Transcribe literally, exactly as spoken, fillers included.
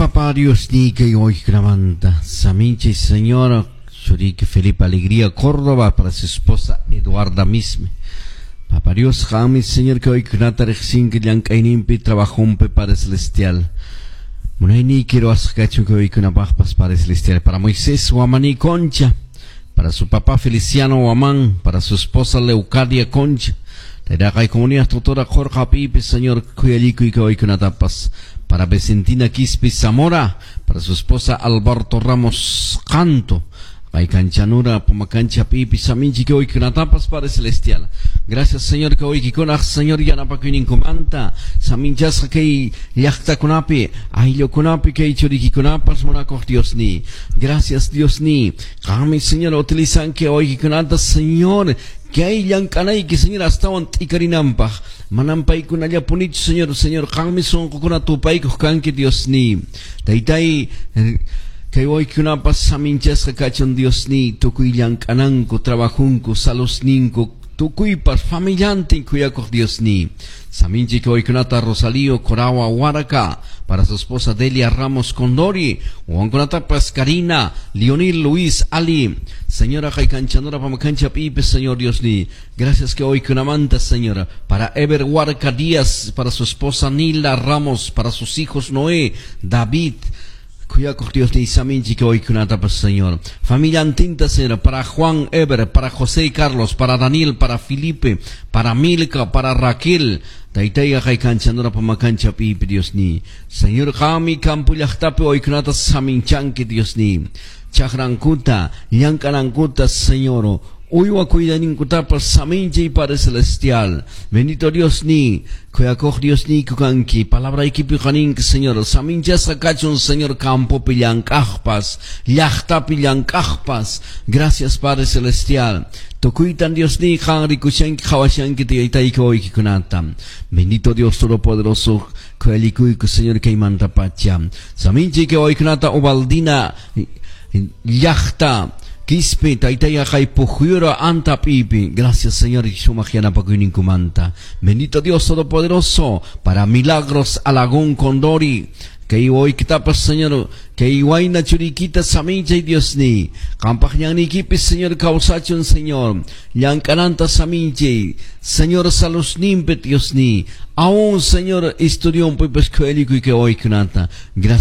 Papá Dios ni kay wawaykikunamanta. Saminchi Señor, churiki Felipe Alegría Córdoba para su esposa Eduarda Misme. Papá Dios, qanmi Señor kay wawaykikunata riqsinki llank'ayninpi trabajumpi Padre Celestial. Munayniyki ruwasqa kachun kay wawaykikunapaqpas Padre Celestial. Para Moisés Guamaní Concha, para su papá Feliciano Guamán, para su esposa Leucadia Concha. Taytaqay comunidad tutora Jorge Pipe, Señor, khuyalikuy kay wawaykunatapas. Para Vicentina Quispe Zamora, para su esposa Alberto Ramos Canto. Kay kanchanura pumakancha pipi saminchi kay wawaykunatapas Padre Celestial. Gracias Señor kay wawaykikunaq Señor yanapakuyninkumanta saminchasqa kay llaqtakunapi ayllukunapi kay churikikunapas munakuq Dios ni. Gracias Dios ni. Qanmi Señor utilizanki wawaykikunata Señor kay llank'anayki Señor astawan t'ikarinanpaq manam paykunallapunichu Señor Señor qanmi sunqukuna tupaykuq kanki Dios ni. Taytay kay wawaykunapas saminchasqa kachun Dios ni tukuy llank'ananku trabajunku salusninku tukuypas familiantin kuyakuq Dios ni. Saminchi kay wawaykunata Rosalío Corawa Huaraca para su esposa Delia Ramos Condori, wawankunatapas Karina, Leonil Luis Ali, Señora Jaykanchanora Pamacancha Pipe, Señor Dios ni. Gracias kay wawaykunamanta, Señora, para Ever Huarca Díaz, para su esposa Nila Ramos, para sus hijos Noé, David, Kuyakuq Dios ni saminchi kay wawaykunatapas, Señor. Familia Antinta, Señor, para Juan Eber, para José y Carlos, para Daniel, para Felipe, para Milka, para Raquel. Taytayqa kay pamakancha pipi Dios ni. Señor qanmi campo llaqtapi wawaykunata saminchanki Dios ni. Chakrankuta, llank'anankuta, Señor. Uywa cuidaninkutapas saminchay Padre Celestial. Bendito Dios ni, kuyakuq Dios ni kukanki, palabraykipi qaninki Señor, saminchasqa kachun Señor campopi llank'aqpas, llaqtapi llank'aqpas. Gracias Padre Celestial. Tukuytan Dios ni qan rikushanki qhawashanki taytayki wawaykikunata. Bendito Dios Todopoderoso, khuyalikuyku Señor kaymanta pacha. Saminchi kay wawaykikunata Ubaldina llaqta Quispe, taytaya kay pujyura anta pipi. Gracias, Señor, sumaq yanapakuyninkumanta. Bendito Dios Todopoderoso, para Milagros Alagón Condori. Kay wawaykitapas, Señor, kay wayna churikita saminchay Dios ni. Qampaq ñanniykipis, Señor, kawsachun, Señor. Llank'ananta saminchay. Señor, salusninpi, Dios ni. Aún, Señor, estudiumpi, pues khuyalikuy kay wawaykunata. Gracias.